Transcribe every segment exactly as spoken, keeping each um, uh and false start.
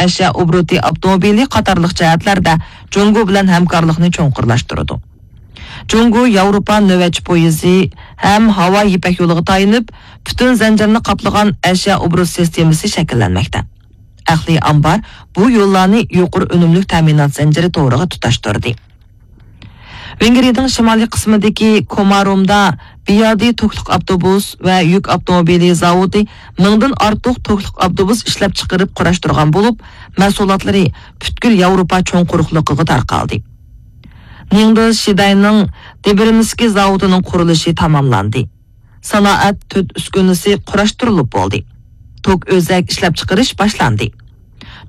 ئەشيا ئوبوروتى ئاپتوموبىلى قاتارلىق جەھەتلەردە جۇڭگو بىلەن ھەمكارلىقنى چوڭقۇرلاشتۇرىدۇ. جۇڭگو ياۋروپا نۆۋەتچى پويىزى ھەم ھاۋا يىپەك يولىغا تايىنىپ، پۈتۈن زەنجىرنى قاپلىغان ئەشيا ئوبوروت سىستېمىسى شەكىللەنمەكتە. ئەقلىي ئامبار بۇ يوللارنى يۇقىرى ئۈنۈملۈك تەمىنات زەنجىرى تورىغا تۇتاشتۇردى. ۋېنگرىيەنىڭ شىمالىي قىسمىدىكى كومارومدا بىيادى توكلۇق ئاپتوبۇس ۋە يۈك ئاپتوموبىلى زاۋۇتى مىڭدىن ئارتۇق توكلۇق ئاپتوبۇس ئىشلەپچىقىرىپ قۇراشتۇرغان بولۇپ، مەھسۇلاتلىرى پۈتكۈل ياۋروپا چوڭ قۇرۇقلۇقىغا تارقالدى. نىڭدېل شىداينىڭ دېبرىنسكى زاۋۇتىنىڭ قۇرۇلۇشى تاماملاندى. سانائەت تۆت ئۈسكۈنىسى قۇراشتۇرۇلۇپ بولدى. توك ئۆزەك ئىشلەپچىقىرىش باشلاندى.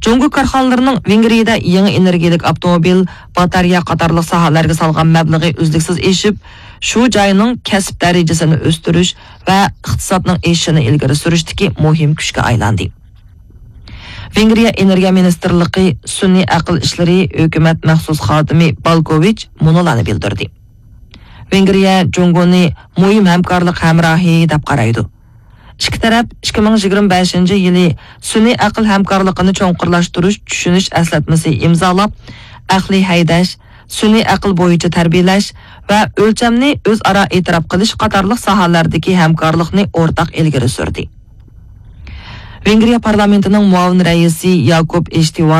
جۇڭگو كارخانىلىرىنىڭ ۋېنگرىيەدە يېڭى ئېنېرگىيەلىك ئاپتوموبىل، باتارېيە قاتارلىق ساھەلەرگە سالغان مەبلىغى ئۈزلۈكسىز ئېشىپ، شۇ جاينىڭ كەسىپ دەرىجىسىنى ئۆستۈرۈش ۋە ئىقتىسادنىڭ ئېشىشىنى ئىلگىرى سۈرۈشتىكى مۇھىم كۈچكە ئايلاندى. ۋېنگرىيە ئېنېرگىيە مىنىستىرلىقى سۈنئىي ئەقىل ئىشلىرى ھۆكۈمەت مەخسۇس خادىمى بالكوۋىچ مۇنۇلارنى بىلدۈردى. ۋېنگرىيە جۇڭگونى مۇھىم ھەمكارلىق ھەمراھى دەپ قارايدۇ. ئىككى تەرەپ ئىككى مىڭ يىگىرمە بەشىنچى يىلى سۈنئىي ئەقىل ھەمكارلىقىنى چوڭقۇرلاشتۇرۇش چۈشىنىش ئەسلەتمىسى ئىمزالاپ، ئەقلىي ھەيدەش، سۈنئىي ئەقىل بويىچە تەربىيەلەش ۋە ئۆلچەمنى ئۆزئارا ئېتىراپ قىلىش قاتارلىق ساھەلەردىكى ھەمكارلىقنى ئورتاق ئىلگىرى سۈردى. ۋېنگرىيە پارلامېنتىنىڭ مۇئاۋىن رەئىسى ياكوب ئېشتىۋان